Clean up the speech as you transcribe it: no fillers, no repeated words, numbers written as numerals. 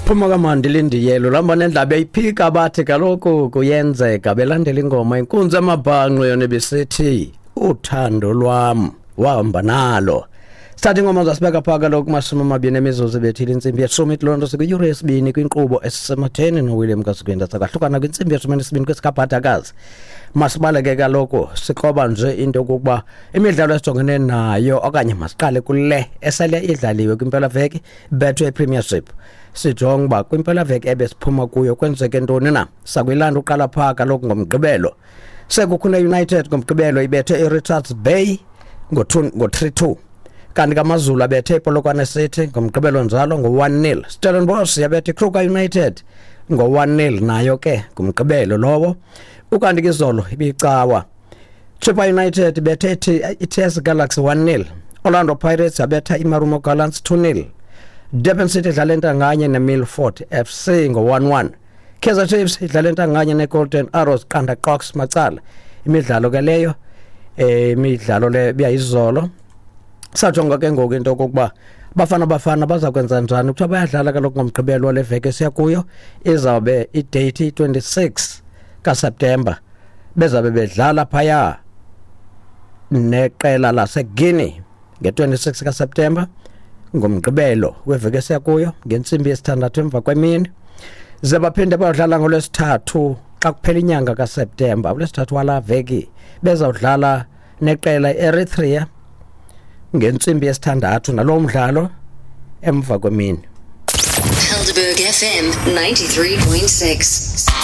Phuma kamandi lindiyelo lamba nendlaba yayiphika bathi kaloku kuyenzeka belandela ingoma inkunzi amabhanqo yona ibisithi uthando lwam wahamba nalo. Sithatha ingoma zasibeka phaa kaloku kumashumi amabini emizuzu ebethile intsimbi yeshumi. Loo nto sikwiyure yesibini kwinkqubo esisematheni noWilliam Kasikwenda. Sakahlukana kwintsimbi yeshumi nesibini kwesikabhadakazi. Masibaleke kaloku sikroba nje into yokokuba imidlalo esijongene nayo, okanye masiqale kule esele idlaliwe kwimpelaveki, Betway Premiership. Sijonge uba kwimpelaveki ebesiphuma kuyo kwenzeke ntoni na. Sakuyilanda uqala phaa kaloku ngoMgqibelo. Sekhukhune United ngoMgqibelo ibethe iRichards Bay ngo-3-2, kanti kaMazulu abethe iPolokwane City ngoMgqibelo njalo ngo-1-0. Stellenbosch yabethe iKruger United ngo-1-0 nayo ke ngumgqibelo lowo. Ukanti ke izolo ibicawa, Chippa United bethe iTS Galaxy 1-0. Orlando Pirates yabetha iMarumo Gallants 2-0. Durban City idlala entanganye neMilford FC ngo-1-1. Kaizer Chiefs idlala entanganye neGolden Arrows qanda qox macala. Imidlalo ke leyo, imidlalo le biyayizolo. Sajonga ke ngoku into okokuba Bafana Bafana baza kwenza njani. Kuthiwa bayadlala kaloku ngoMgqibelo wale veki esiya kuyo, izawube idate 26 kaSeptemba, bezabe bedlala phaya neqela laseGuinea nge-26 kaSeptemba, ngoMgqibelo weveki esiya kuyo, ngentsimbi yesithandathu emva kwemini. Ze baphinde bayodlala ngoLwesithathu xa kuphela inyanga kaSeptemba, uLwesithathu wala veki, bezawudlala neqela i-Eritrea ngentsimbi yesithandathu nalowo mdlalo emva kwemini. Helderberg FM 93.6.